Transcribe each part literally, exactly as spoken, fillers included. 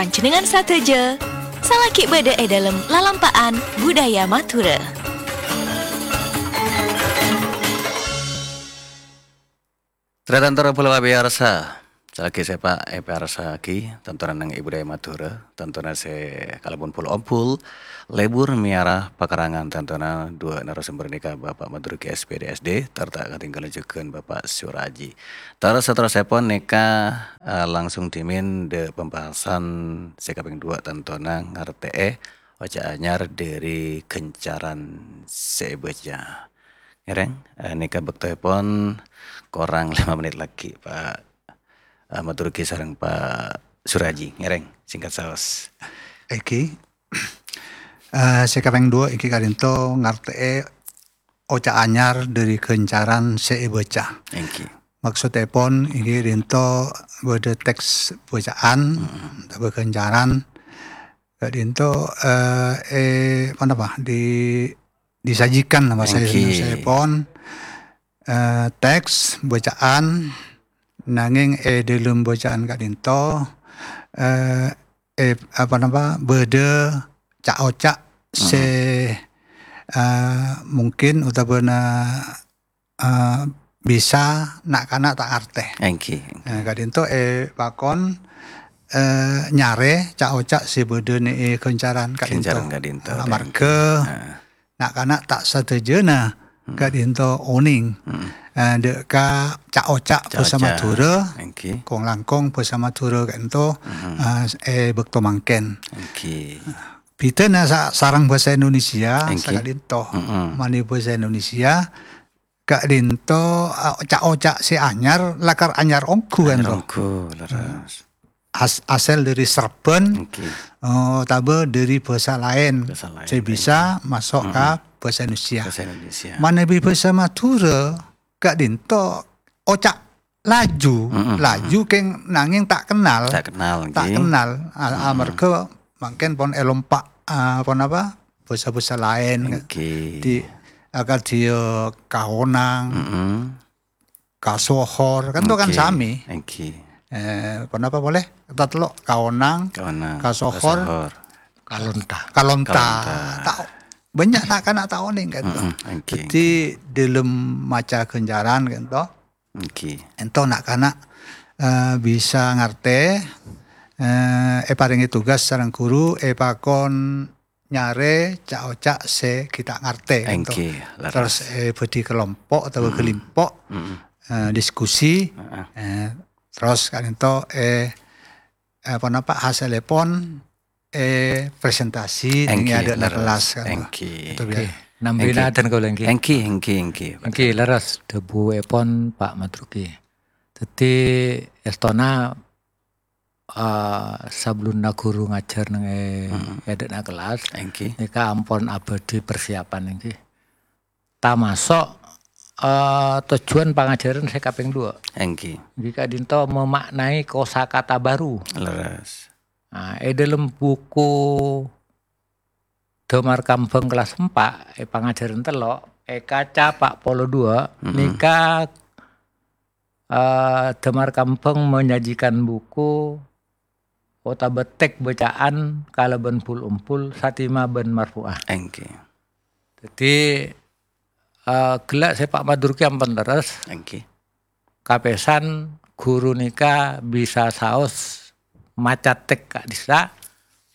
Panjhennengngan sadhâjâ, salaghi bâdâ è dâlem lalampa'an budaya Madhurâ. Tarètan toro' polè pamèyarsa, salaghi sè pa-, èpèyarsa'aghi, tantona neng è budaya Madhurâ, tantona sè kalabân pol-ompol, lebur mèyara pakarangan tantona duwâ' narasumber nèka Bapak Madruki S P D S D, tor ta' katinggalan jhughân Bapak Suraji. Tor saterrossèpon nèka, eh, langsung dhimèn dâ' pembahasan sè kapèng duwâ' tantona ngartè'è oca' anyar dâri ghâncaran sè èbâca. Ngèrèng, eh, nèka bâktoèpon korang lèma' mennit laghi', Pak, eh, Madruki sareng Pak Suraji. Ngèrèng, singkat saos. Èngghi. Eh, sè kapèng duwâ' èngghi ka'dinto ngartè'è oca' anyar dâri ghâncaran sè èbâca. Èngghi. Maksodèpon èngghi ka'dinto bâdâ teks bâca'an, otabâ ghâncaran. Ka'dinto, eh, eh, apa napa, di-, disajikan napa Èngghi. Saèpon, eh, teks bâca'an, nangèng è dâlem bâca'an ka'dinto, eh, eh, apa napa, bâdâ ca'-oca' sè, eh, mungkin otabâna, eh, bisa na'-kana' ta' ngartè. Èngghi, èngghi. Eh, ka'dinto èpakon, eh, nyarè ca'-oca' sè bâdâ nè-, è ghâncaran ka'dinto. Ghâncaran ka'dinto, Amarghâ èngghi. Ah. Na'-kana' ta' sadhâjâna ka'dinto onèng. Eh, dâ' ka ca'-oca' bhâsa Madhurâ, èngghi. Kong-langkong bhâsa Madhurâ ka'dinto, eh, è bâkto mangkèn. Èngghi. Bhidhâna sa-, sareng bhâsa Indonesia, èngghi. Saka'dinto. Mani bhâsa Indonesia, ka'dinto, eh, ca'-oca' sè anyar, lakar anyar ongghu, èngghi. Anyar ongghu, lerres. As-, asal dâri serbhân, èngghi. Eh, otabâ dâri bhâsa laèn. Bhâsa laèn, sè bisa maso' ka bhâsa Indonesia. Bhâsa Indonesia. Manabi bhâsa Madhurâ, ka'dinto oca' laju, laju kèng nangèng ta' kennal. Ta' kennal, ta' kennal. A-, amarghâ mangkèn pon èlompa', a, pon apa? Bhâsa-bhâsa laèn. Èngghi. Di, akadhi, eh, kaonang, kasohor, kan to kan sami. Èngghi. Eh, pon apa polè? Tatello', kaonang, kaonang, kasohor, kasohor. Kalonta. Kalonta. Kalonta. Ta-, bânnya' na'-kana' ta' onèng kan to. Èngghi. Dâddhi, dâlem maca ghâncaran kan to. Èngghi. Ènto na'-kana', eh, bisa ngartè, eh, èparèngè tugas sareng ghuru, èpakon nyarè ca'-oca' sè ghi' ta' ngartè, ènto. Èngghi, lerres. Terros, eh, bâdhi kelompo' otabâ kelimpo', eh, diskusi, eh, terros ka'dinto, eh, eh, ponapa hasèllèpon, eh, presentasi neng è adâ'na kellas, kan. Èngghi. Èngghi. Nambina adan kaulâ, èngghi. Èngghi, èngghi, èngghi. Èngghi, lerres dhâbuèpon Pak Madruki. Dâddhi, èstona, eh, sabellunna ghuru ngajhâr neng è, è adâ'na kellas, èngghi. Nèka ampon abâdhi persiapan, èngghi. Tamaso', eh, tojjhuwân pangajhârân sè kapèng duwâ'. Èngghi. Èngghi ka'dinto memaknai kosakata baru. Lerres. Nah, è dâlem buku Damar Kambhâng kellas empa', è pangajhârân tello', è kaca pa' polo duwâ', nèka eh, Damar Kambhâng menyajikan buku otabâ teks bâca'an kalabân bul-ombul satima bân marfu'ah. Èngghi. Dâddhi, eh, ghellâ' sè Pak Madruki ampon lerres. Èngghi. Kapèsan ghuru nèka bisa saos maca teks ka'dissa',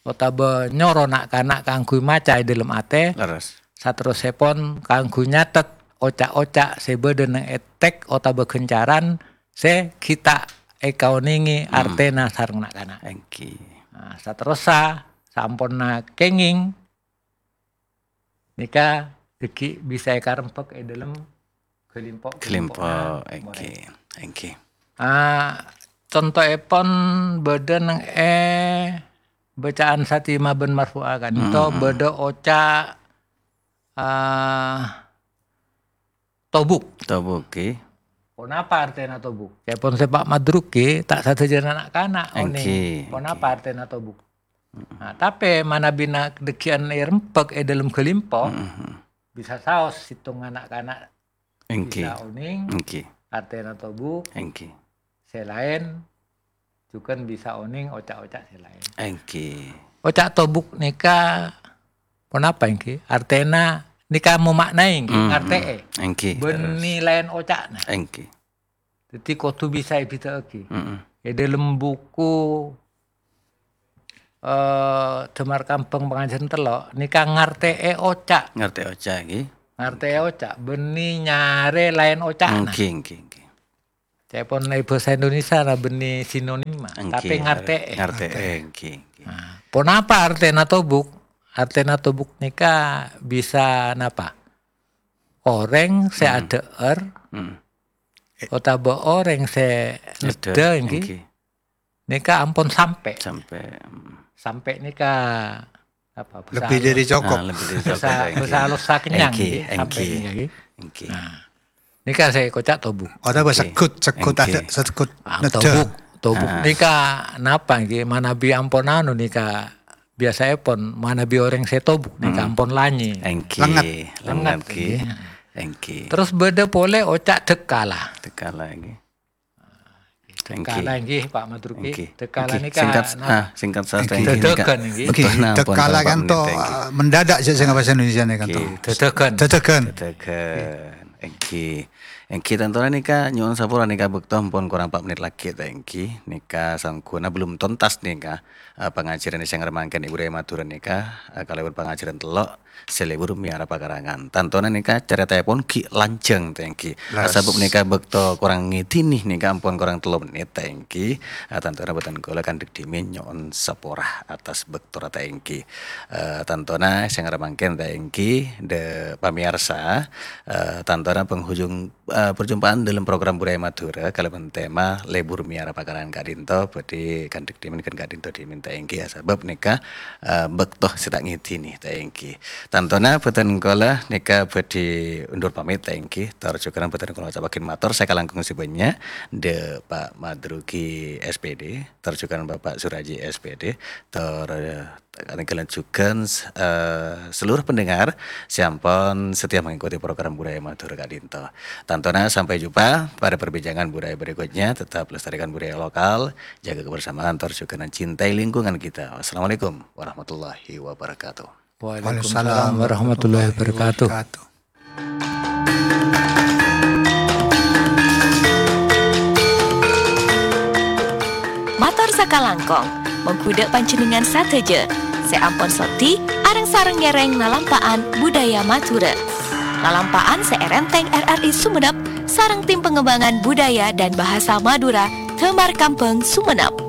otabâ nyoro na'-kana' kaangghuy maca è dâlem atè. Lerres. Saterrossèpon kaangghuy nyatet oca'-oca' sè bâdâ neng è teks otabâ ghâncaran sè ghi' ta' èkaonèngè artèna sareng na'-kana'. Èngghi. Nah, saterrossa, saamponna kèngèng, nèka dhâggi' bisa èkarembhâk è dâlem ghâlimpo', ghâlimpo', ghâlimpo'na èngghi, morèng. Èngghi. Ah, contoèpon bâdâ neng è bâca'an satima bân marfu'ah ka'dinto bâdâ oca', ah, tobuk. Tobuk, èngghi. Ponapa artèna tobuk? Ca'èpon sè Pak Madruki, ta' sadhâjâna na'-kana' onèng. Èngghi, ponapa artèna tobuk? Nah, tapè manabi na-, dhâggi'ân èrembhâk è dâlem ghâlimpo', bisa saos sèttonga na'-kana' bisa onèng, èngghi, artèna tobuk, èngghi, sè laèn, jhughân bisa onèng oca'-oca' sè laèn. Èngghi. Oca' tobuk nèka ponapa èngghi? Artèna nèka mamaknaè èngghi, Mm-mm. ngartè'è. Èngghi, Bânnè terros. laèn oca'na. Èngghi. Dhâddhi kodhu bisa èbhidhâ'aghi. Mm-mm. È dhâlem buku, eh, Dhâmar Kambhâng Pangajhârân Tello', nèka ngartè'è oca'. Ngartè'è oca', èngghi. Ngartè'è oca', bânnè nyarè laèn oca'na. Èngghi, èngghi, èngghi. Ca'èpon è bhâsa Indonesia la bânnè sinonim, Èngghi, tapè ngartè'è. ngartè'è, èngghi, èngghi. Nah, ponapa artèna tobuk? Artèna tobuk nèka bisa napa? Orèng sè Hmm. adhâ'âr Hmm. otabâ orèng sè Adhâ', neddhâ, èngghi. èngghi. Nèka ampon sampè'. Sampè', hmm. Sampè' nèka apa? Bhâsa Lebbi halus. dhâri cokop. Ah, lebbi dhâri cokop, Bhâsa, èngghi. bhâsa halus sakènyan, Èngghi, èngghi, èngghi. sampè' Èngghi. nèka, èngghi. Èngghi. Nah. Nèka sè èkoca' tobuk. Otabâ Èngghi. segghut, segghut Ah, adhâ-, tobuk. Tobuk Ah. nèka napa, èngghi? Manabi ampon anu nèka, biyasaèpon manabi orèng sè tobuk nèka Hmm. ampon lanyè. Èngghi, Lènget. lènget, Lènget, èngghi. èngghi. Èngghi. Terros bâdâ polè oca' dhâkkala. Dhâkkala, èngghi. Èngghi. Dhâkkala, èngghi, Pak Madruki. Èngghi. Dhâkkala Èngghi. nèka Singkat, na-, ah, singkat sastra Èngghi. èngghi, nèka. Dhâghân, èngghi. Èngghi. Betul, nah, ampon, Dhâkkala ampon, kan to, menit, èngghi. eh, mendadak sih sing bahasa Indonesia nih kan to. Èngghi. Dhâghân. Dhâghân. Dhâghân. Èngghi. Èngghi, tantona nèka nyo'on sapora nèka bâkto ampon korang empat menit lagi, ta' èngghi. Nèka sangghuwâna belum tuntas nèka, eh, pangajhârân sè ngarè mangkèn è Budaya Madhurâ nèka, eh, kalabân pangajhârân tello'. Sè lebur mèyara pakarangan. Tantona nèka carètaèpon ghi' lanjhâng, ta' èngghi. Leres. Sabâb nèka bâkto korang ngèdinè nèka ampon korang tello menit, ta' èngghi. Ah, tantona bhâdhân kaulâ kandhâ dhimèn nyo'on sapora attas bâktona, ta' èngghi. Eh, tantona sè ngarè mangkèn, ta' èngghi, dâ' pamèyarsa, eh, tantona penghujung, eh, perjumpaan dalam program Budaya Madhurâ kalabân tema Lebur Mèyara Pakarangan ka'dinto bhâdhi kandhâ dhimèn ghân ka'dinto dhimèn, ta' èngghi, ya, sabâb nèka, eh, bâkto sè ta' ngèdinè, ta' èngghi. Tantona bhâdhân kaulâ nèka bhâdhi undur pamit, ta' èngghi. Tor jhughân bhâdhân kaulâ oca'aghi mator sakalangkong sè bânnya' dâ' Pak Madruki S P D, tor jhughân Bapak Suraji S P D, tor, eh, kalangkong jhughân, eh, seluruh pendengar sè ampon setia mengikuti program Budaya Madhurâ ka'dinto. Tantona sampai jumpa pada perbincangan budaya berikutnya. Tetap lestarikan budaya lokal, jaga kebersamaan, tor jhughân cintai lingkungan kita. Wassalamualaikum warahmatullahi wabarakatuh. Waalaikumsalam warahmatullahi wabarakatuh. Mator sakalangkong, mongghu dâ' panjhennengngan sadhâjâ sè ampon sodi areng-sareng ngèrèng lalampa'an budaya Madhurâ. Lalampa'an sè èrèntèng R R I Sumenep sareng Tim Pengembangan Budaya dan Bahasa Madura Dhâmar Kambhâng Sumenep.